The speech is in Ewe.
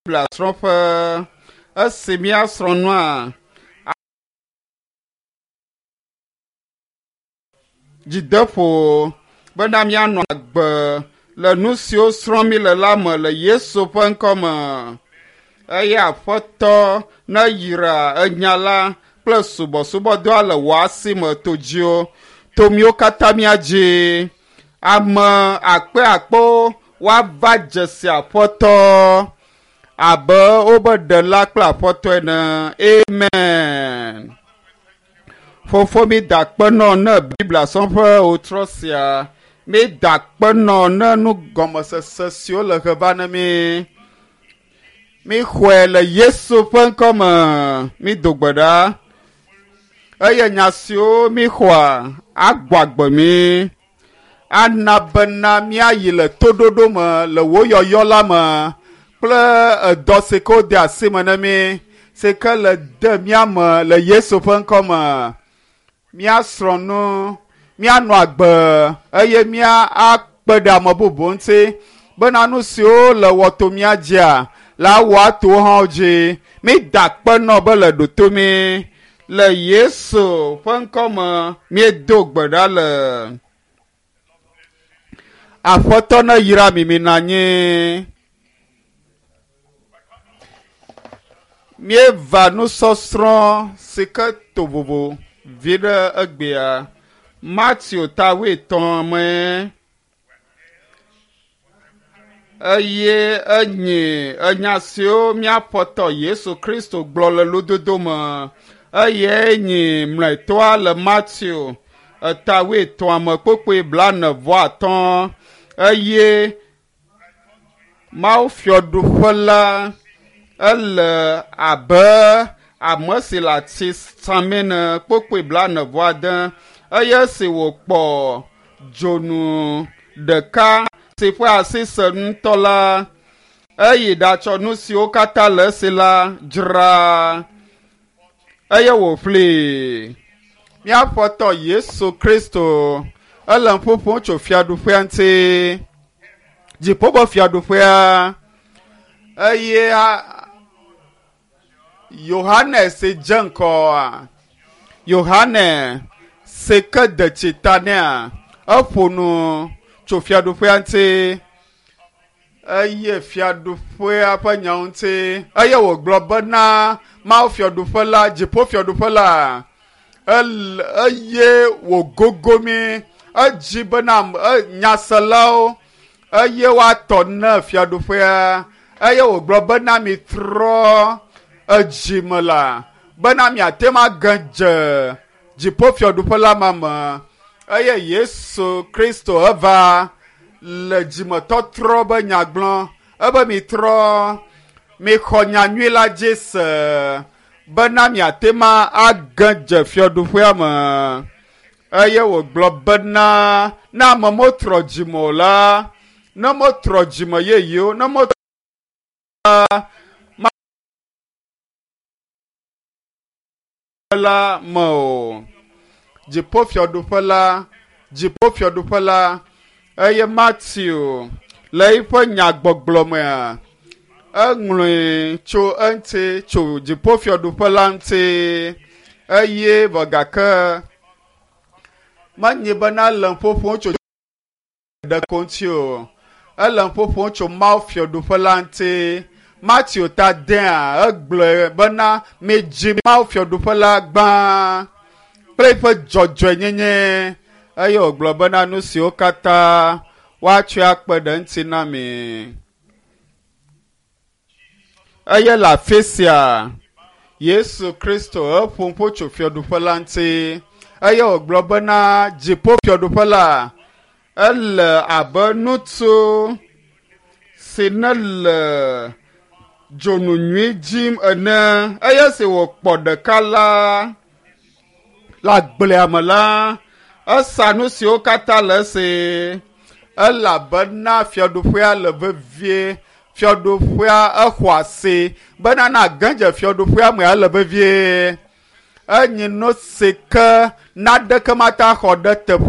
Biblia srɔ̃ƒe esi míasrɔ̃ nua dzideƒo bena míanɔ agbe le nu siwo srɔ̃m míle la me le Yesu ƒe ŋkɔ me. Eye Aƒetɔ neyra enya la kple subɔsubɔdɔa le wò asi me to dziwò, to míwo katã mía dzi. Ame akpe akpewo woava dze si Aƒetɔ abe wobe ɖela kple Aƒetɔ ene. Amen. Fofo mi da akpe nɔ ne Biblia srɔ̃ƒe wòtrɔ sia. Mi da akpe nɔ ne nugɔmesese siwo le he va ne mi. Mi xɔe le Yesu ƒe ŋkɔ me. Mi do gbe ɖa. Eye nya siwo mi xɔa agbɔ agbe mi. Ana bena míayi le toɖoɖo me le wò yɔyɔ la me kple edɔ si ke wode asi me ne mí si ke le de mía me le Yesu ƒe ŋkɔ me. Míasrɔ̃ nu, míanɔ agbe eye mía akpe ɖe ame bubu ŋuti bena nu siwo le wɔ to mía dzia la wɔ ato wo hã dzi. Mída akpe nɔ be le ɖoto mí le Yesu ƒe ŋkɔ me míedo gbe ɖa le. Aƒetɔ ne yra mi minɔ anyi. Míeva nusɔsrɔ̃ si ke to vovo vi ɖe egbea. Mateo ta wuietɔ̃ me eye enyi enya siwo míaƒetɔ Yesu Kristo gblɔ le lododo me eye enyi mlɔetɔa le Mateo eta wuietɔ̃a me kpokpoe blaene vɔ atɔ̃ eye Mawu fiaɖuƒe la ele abe ame si le ati samɛ ene kpokpoe blaene vɔ ade eye esi wòkpɔ dzonu ɖeka si ƒe asi se ŋutɔ la eyi ɖatsɔ nu siwo katã le esi la dzra eye wòƒlee. Míaƒetɔ Yesu Kristo ele nu ƒoƒom tso fiaɖuƒea ŋuti. Dziƒo ƒe fiaɖuƒea eye Yohanes si dze ŋkɔa Yohane si ke de tsi ta nɛa eƒo nu tso fiaɖuƒea ŋuti eye fiaɖuƒea ƒe nyawo ŋuti eye wògblɔ bena Mawu fiaɖuƒe la dziƒo fiaɖuƒe la eye wògogo mí edzi bena nyaselawo eye woatɔ ne fiaɖuƒea eye wògblɔ bena mitrɔ edzime la bena miate ŋu age dze dziƒo fiaɖuƒe la ma me eye Yesu Kristo eva le dzimetɔtrɔ be nya gblɔ ebe mitrɔ mixɔ nyanyui la dzi se bena miate ŋu age dze fiaɖuƒea me eye wògblɔ bena ne ame metrɔ dzime o la ne metrɔ dzime yeyewo ne metrɔ la me o dziƒofiaɖuƒe la dziƒofiaɖuƒe la eye Mateo le eƒe nyagbɔgblɔ mea eŋlɔe tso eŋuti tso dziƒofiaɖuƒe la ŋuti eye vɔ gake menye bena le ƒoƒom tso ɖe ko ŋuti o ele ƒoƒom tso Mawu fiaɖuƒe la ŋuti Mateo ta dea egblɔe bena midzi Mawu fiaɖuƒe la gbã kple eƒe dzɔdzɔenyenye eye wògblɔ bena nu siwo katã woatsɔe akpe ɖe eŋuti na mi. Eye le afi sia Yesu Kristo eƒo ƒo tso fiaɖuƒe la ŋuti eye wògblɔ bena dziƒo fiaɖuƒe la ele abe ŋutsu si ne le dzonu nyui dzim ene eye si wòkpɔ ɖeka la le agblea me la esa nu siwo katã le esi elabena fiaɖuƒea le vevie fiaɖuƒea exɔ asi bena na ge dze fiaɖuƒea me ele vevie enyi nu si ke naɖeke mate axɔ ɖe teƒe.